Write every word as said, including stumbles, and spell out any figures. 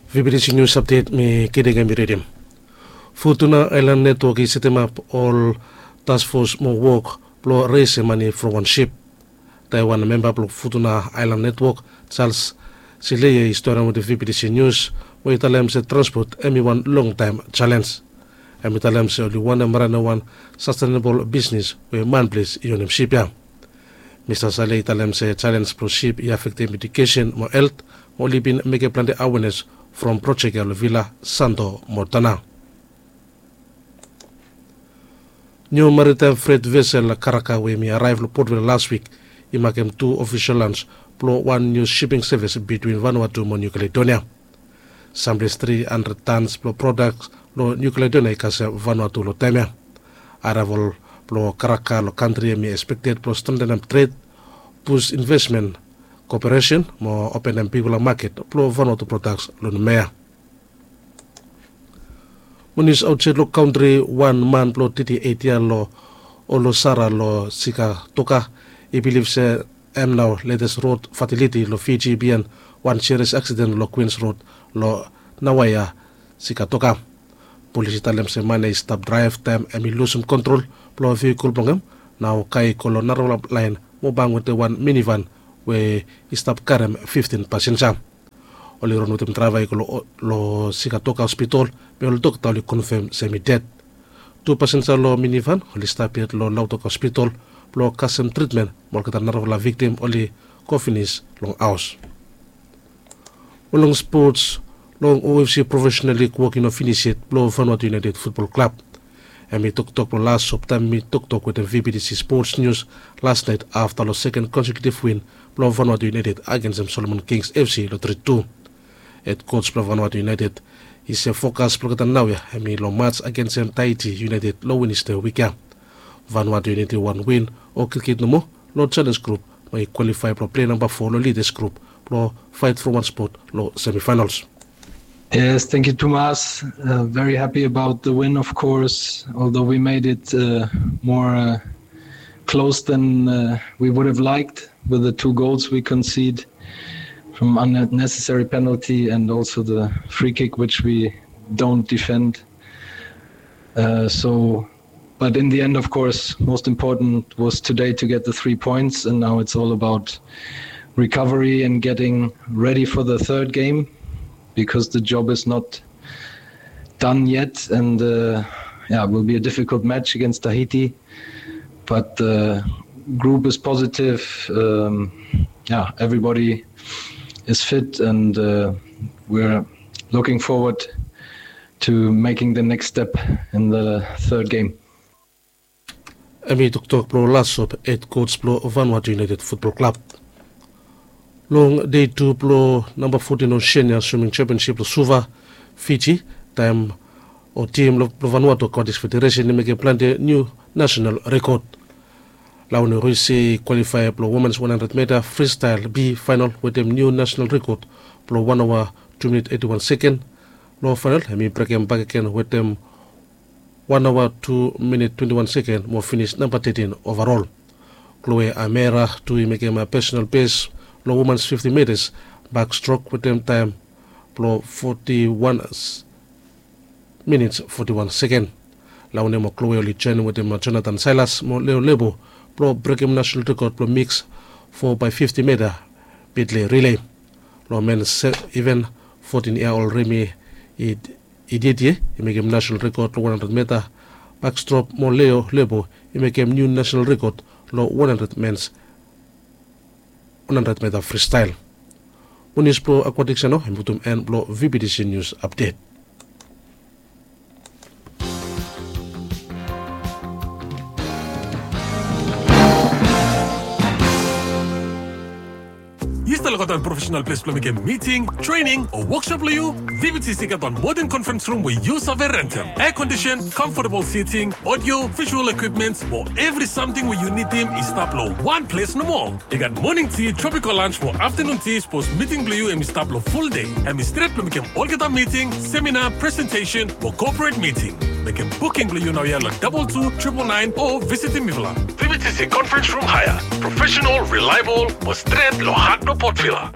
V B T C News Update mi Kidegem i ridim. Futuna Aelan Netwok i setemap ol taskfos mo wok blong resim mane from wan sip. Taiwan memba blong Futuna Aelan Netwok, Charles Sileia, i storian wetem V B T C News mo i talem se transpot hem i wan longtaem jalenj. Hem i talem se oli wantem ranem wan sastenebol bisnes we manples i onem sip ya. Mista Sale i talem se jalenj blong sip i afektem ejukesen mo helt, mo oli bin mekem plante awenes from projek ya long Vila, Santo mo Tana. Niu maritaem fret vesel Karaka we hem i araev long Port Vila las wik i makem tu ofisol lans blong wan niu siping sevis bitwin Vanuatu mo Niu Kaledonia. Samples tri handred tans blong prodaks long Niu Kaledonia i kasem Vanuatu long taem ya. Araevol blong Karaka long kantri hem i ekspekted blong strentenem tred, bus invesmen, koperesen mo openem bigfala maket blong Vanuatu prodaks long Numea. Mo nius aotsaed long kantri, wan man blong teti eit yia long Olosara long Sikatoka i bilif se hem nao letes rod fataliti long Fiji biaen wan siris aksiden long Kwins Rod long Nawaia, Sikatoka. Polis i talem se man ya i stap draev taem hem i lusum kontrol blong vihikol blong hem, nao kae i go long narafala laen mo bam wetem wan minivan we i stap karem fiftin pasenja. Oli ron wetem draeva i go long Sikatoka Hospitol, be ol dokta oli konfem se hem i ded. Tu pasenja long minivan oli stap yet long Lautoka Hospitol blong kasem tritmen, mo olgeta narafala viktim oli go finis long haos. Mo long spots, long O F C Professional League wok i no finis yet blong Vanuatu United Futbol Klab. Hem i toktok blong las sop taem hem i toktok wetem V B T C Sports News las naet afta long seken konsekiutiv win blong Vanuatu United agensem Solomon Kings F C long tri tu. Hed koj blong Vanuatu United i se fokas blong olgeta naoia hem i long mats agensem Tahiti United long Wenesde wik ya. Vanuatu United i wan win o kitkit nomo long jalenj grup mo i kwalifae blong plei namba fo long lidas grup blong faet from wan spot long semifaenals. Yes, thank you, Tomas. Uh, very happy about the win, of course, although we made it uh, more uh, close than uh, we would have liked with the two goals we concede from unnecessary penalty and also the free kick, which we don't defend. Uh, so, but in the end, of course, most important was today to get the three points, and now it's all about recovery and getting ready for the third game, because the job is not done yet, and uh, yeah, it will be a difficult match against Tahiti. But the group is positive. Um, yeah, everybody is fit, and uh, we're looking forward to making the next step in the third game. Hem i toktok blong las sop hed koj blong Vanuatu United Futbol Klab. Long dei tu blong namba fotin Oseania Swiming Championship long Suva, Fiji, taem o tim blong Vanuatu Aquatics Federation i mekem plante niu nasenal rekod. Laune Roisi i kwalifae blong womens wan handred meta fristael B faenal wetem niu nasenal rekod blong wan aoa tu minit eti wan seken. Long faenal hem i brekem bakegen wetem wan aoa tu minit twenti wan seken mo finis namba tetin ovarol. Chloe Amera tu i mekem pesenal bes long womens fifti metas bakstrok wetem taem blong foti wan minits foti wan seken. Laune mo Chloe oli joenem wetem Jonathan Silas mo Leo Lebo blong brekem nasenal rekod blong miks fo bae fifti meta medley relay. Long mens iven, fotin yia ol Remi Idietie i mekem nasenal rekod long wan handred meta bakstrok mo Leo Lebo i mekem niu nasenal rekod long wan handred mens wan handred meta fristael. Mo nius blong akwatiks ya nao hem i putum en blong V B T C Nius Apdet. Yu stap lukaot wan profesenal ples blong mekem miting, trening o wokshop long yu? V B T C i gat wan moden konferens rum we yu save rentem. Air condition, comfortable seating, audio, visual equipments, mo evri samting we yu nidim i stap long wan ples nomo. I gat moning ti, tropical lunch mo aftanun ti sapos miting blong yu hem i stap long ful dei. Hem i stret blong mekem olgeta miting, seminar, presentesen mo corporate miting. Mekem buking blong yu naoia long double two triple nine o visitim mifala. V B T C Conference Room Hire. Professional, reliable mo stret long hat blong Port Vila.